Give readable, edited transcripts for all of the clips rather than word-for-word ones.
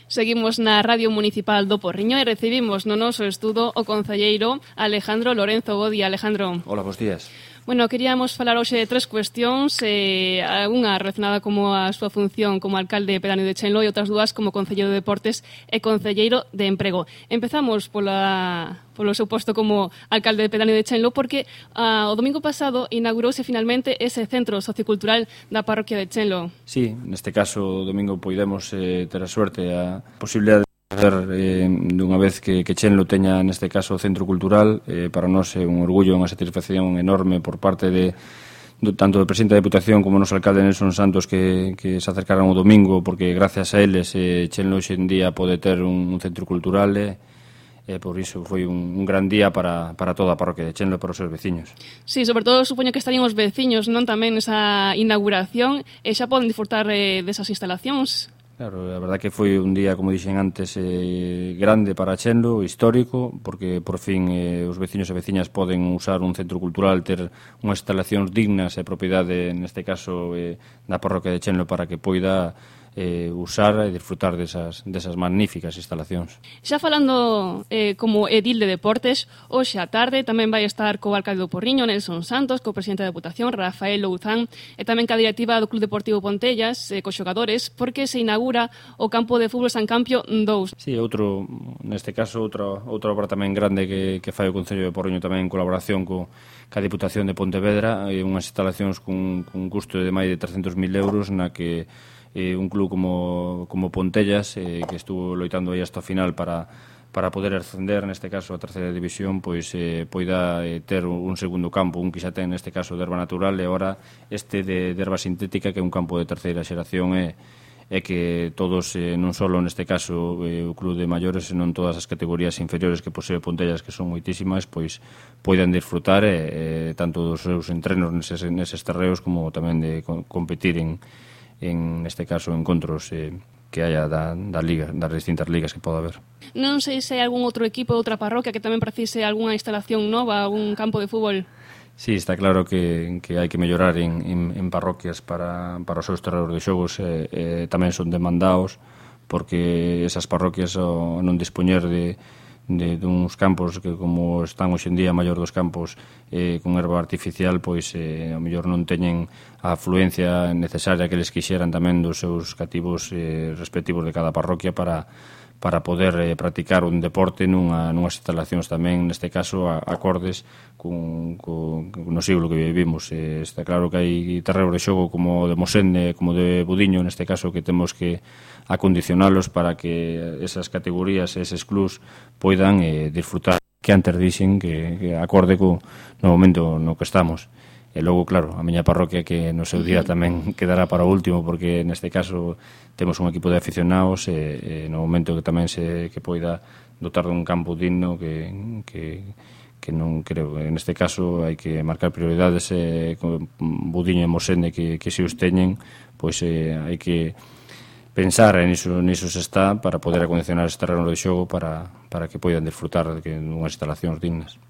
Seguimos na Radio Municipal do Porriño e recibimos no noso estudo o concelleiro Alejandro Lorenzo. Bo día, Alejandro. Hola, bons días. Bueno, queríamos falar hoxe de tres cuestións, unha relacionada como a súa función como alcalde pedáneo de Chenlo e outras dúas como concelleiro de Deportes e concelleiro de Emprego. Empezamos polo seu posto como alcalde pedáneo de Chenlo porque o domingo pasado inaugurouse finalmente ese centro sociocultural da parroquia de Chenlo. Sí, neste caso o domingo poidemos ter a suerte a posibilidade dunha vez que Chenlo teña neste caso o centro cultural. Para nós é un orgullo, unha satisfacción enorme por parte de tanto do presidente da Deputación como o noso alcalde Nelson Santos que se acercaran o domingo, porque gracias a eles Chenlo hoxe en día pode ter un centro cultural e por iso foi un gran día para toda a parroquia de Chenlo e para os seus veciños. Sí, sobre todo supoño que estarían os veciños non tamén nesa inauguración e xa poden disfrutar desas instalacións. Claro, a verdad que foi un día, como dixen antes, grande para Chenlo, histórico, porque por fin os veciños e veciñas poden usar un centro cultural, ter unhas instalacións dignas e propiedade, neste caso, da parroquia de Chenlo para que poida usar e disfrutar desas magníficas instalacións. Xa falando como edil de deportes, hoxe á tarde tamén vai estar co alcalde do Porriño, Nelson Santos, co presidente da Deputación, Rafael Louzán, e tamén ca directiva do Club Deportivo Pontellas, cos xogadores, porque se inaugura o campo de fútbol San Campio 2. Sí, neste caso, outra obra tamén grande que fai o Concello de Porriño tamén en colaboración ca Diputación de Pontevedra, unhas instalacións cun custo de máis de 300.000 euros na que un club como Pontellas, que estuvo loitando aí hasta o final para poder ascender, neste caso, a terceira división, pois poida ter un segundo campo, un que xa ten, neste caso, de erva natural, e agora este de erva sintética, que é un campo de terceira xeración, e que todos, non só neste caso o club de maiores, senón todas as categorías inferiores que posee Pontellas, que son moitísimas, pois poidan disfrutar tanto dos seus entrenos neses terreos como tamén de competir en neste caso, encontros que haya das distintas ligas que poda haber. Non sei se hai algún outro equipo, outra parroquia que tamén precise algunha instalación nova, algún campo de fútbol. Sí, está claro que hai que mellorar en parroquias para os seus terreos de xogos, tamén son demandados, porque esas parroquias ao non dispoñer de uns campos que, como están hoxe en día, a maior dos campos con erva artificial, pois ao mellor non teñen a afluencia necesaria que eles quixeran tamén dos seus cativos respectivos de cada parroquia para poder practicar un deporte nunhas instalacións tamén, neste caso, acordes no siglo que vivimos. Está claro que hai terreos de xogo como de Mosende, como de Budiño, neste caso, que temos que acondicionalos para que esas categorías, eses clubs, poidan disfrutar, que antes dixen que acorde no momento no que estamos. E logo, claro, a miña parroquia, que no seu día tamén quedará para o último, porque neste caso temos un equipo de aficionados e no momento que tamén que poida dotar dun campo digno que non creo. En este caso hai que marcar prioridades con Budiño e Mosende que se os teñen, pois hai que pensar niso se está para poder acondicionar este terreno de xogo para que poidan disfrutar de unhas instalacións dignas.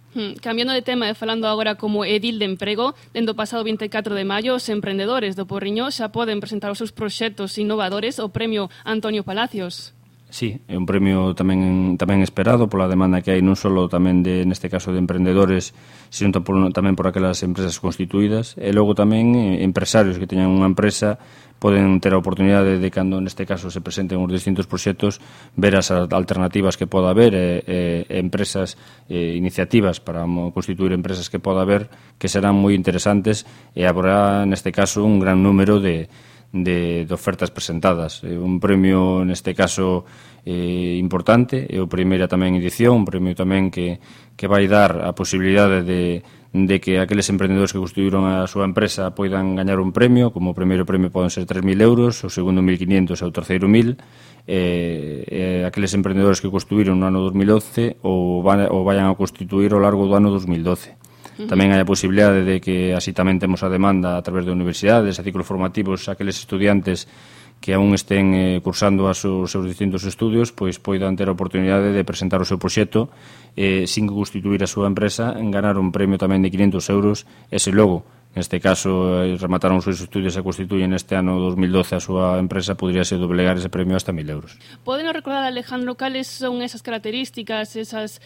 Cambiando de tema e falando agora como edil de emprego, dende o pasado 24 de maio, os emprendedores do Porriño xa poden presentar os seus proxectos innovadores ao Premio Antonio Palacios. Sí, é un premio tamén esperado pola demanda que hai non só tamén neste caso de emprendedores, sino tamén por aquelas empresas constituídas, e logo tamén empresarios que teñan unha empresa poden ter a oportunidade de, cando neste caso se presenten os distintos proxectos, ver as alternativas que poda haber empresas, iniciativas para constituir empresas que poda haber, que serán moi interesantes, e haberá neste caso un gran número de ofertas presentadas. Un premio, neste caso, importante, é a primeira tamén edición, un premio tamén que vai dar a posibilidade de que aqueles emprendedores que constituíron a súa empresa poidan gañar un premio. Como o primeiro premio poden ser 3.000 euros, o segundo 1.500 e o terceiro 1.000. Aqueles emprendedores que constituíron no ano 2011 ou vayan a constituir ao largo do ano 2012. Tamén hai a posibilidade de que así tamén temos a demanda a través de universidades, a ciclos formativos, aqueles estudiantes que aún estén cursando os seus distintos estudios, pois poidan ter a oportunidade de presentar o seu proxecto sin constituir a súa empresa, en ganar un premio tamén de 500 euros, e se logo neste caso remataron os seus estudios e constituyen este ano 2012 a súa empresa, poderíase doblegar ese premio hasta 1.000 euros. Podenos recordar, Alejandro, cales son esas características, esas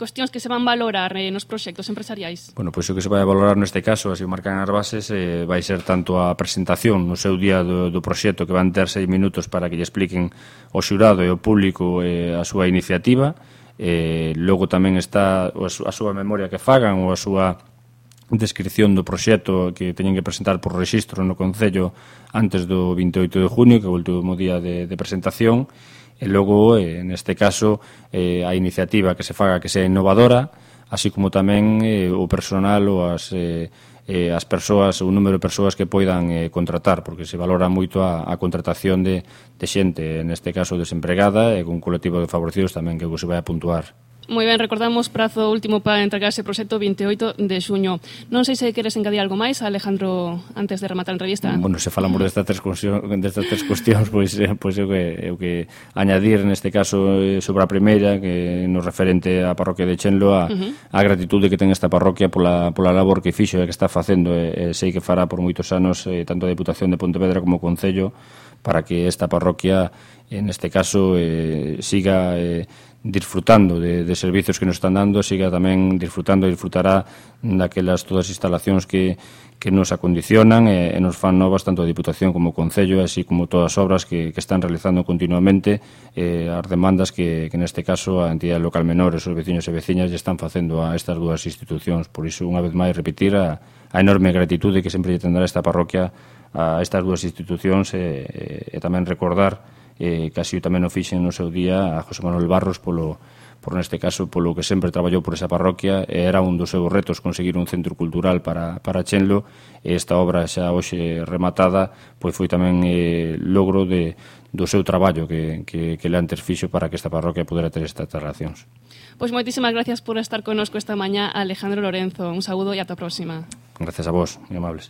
cuestións que se van valorar nos proxectos empresariais? Bueno, pois o que se vai valorar neste caso, así o marcan as bases, vai ser tanto a presentación no seu día do proxecto, que van ter 6 minutos para que lle expliquen ao xurado e ao público a súa iniciativa. Logo tamén está a súa memoria que fagan ou a súa descripción do proxecto que teñen que presentar por rexistro no Concello antes do 28 de junio, que é o último día de presentación, e logo, neste caso, a iniciativa que se faga que sea innovadora, así como tamén o personal ou as persoas, o número de persoas que poidan contratar, porque se valora moito a contratación de xente, neste caso desempregada, e con colectivo de favorecidos tamén, que se vai a puntuar. Moi ben, recordamos prazo último para entregar ese proxecto 28 de xuño. Non sei se queres engadir algo máis, Alejandro, antes de rematar a entrevista. Bueno, se falamos destas tres cuestións, pois eu que añadir neste caso sobre a primeira, que no referente á parroquia de Chenlo, a gratitude que ten esta parroquia pola labor que fixo e que está facendo, e sei que fará por moitos anos tanto a Deputación de Pontevedra como o Concello, para que esta parroquia, neste caso, siga disfrutando de servizos que nos están dando, siga tamén disfrutará daquelas todas as instalacións que nos acondicionan e nos fan novas tanto a Diputación como o Concello, así como todas as obras que están realizando continuamente, as demandas que neste caso a entidade local menores, os veciños e veciñas lle están facendo a estas dúas institucións. Por iso, unha vez máis, repetir a enorme gratitude que sempre lle tendrá esta parroquia a estas dúas institucións, e tamén recordar que así tamén o fixen no seu día a José Manuel Barros por neste caso, polo que sempre traballou por esa parroquia, e era un dos seus retos conseguir un centro cultural para Chenlo, e esta obra xa hoxe rematada pois foi tamén logro do seu traballo que le antes fixo para que esta parroquia pudera ter estas relacións. Pois moitísimas gracias por estar connosco esta mañá, Alejandro Lorenzo. Un saúdo e ata a próxima. Gracias a vos, moi amables.